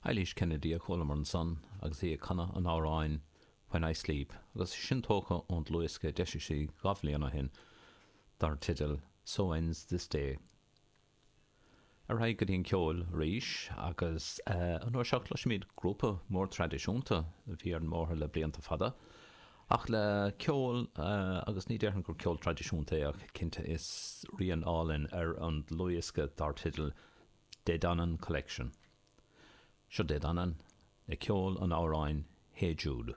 Eilís Kennedy a chualamar ansan agus í ag canadh an amhráin When I Sleep agus sin tógtha ón dlúthdhiosca a d'eisigh sí 2 bhliain ó shin dar teideal So Ends This Day. Ar aghaidh go dtí an ceol arís agus an uair seo cloisfimid grúpa mór traidisiúnta a bhí ar an mbóthar le blianta fada ach le ceol agus ní déarfainn gur ceol traidisiúnta é ach cinnte is rian álainn ar an dlúthdhiosca dar teideal Dé Danann Collection. Seo Dé Danann le ceol an amhráin Hey Jude.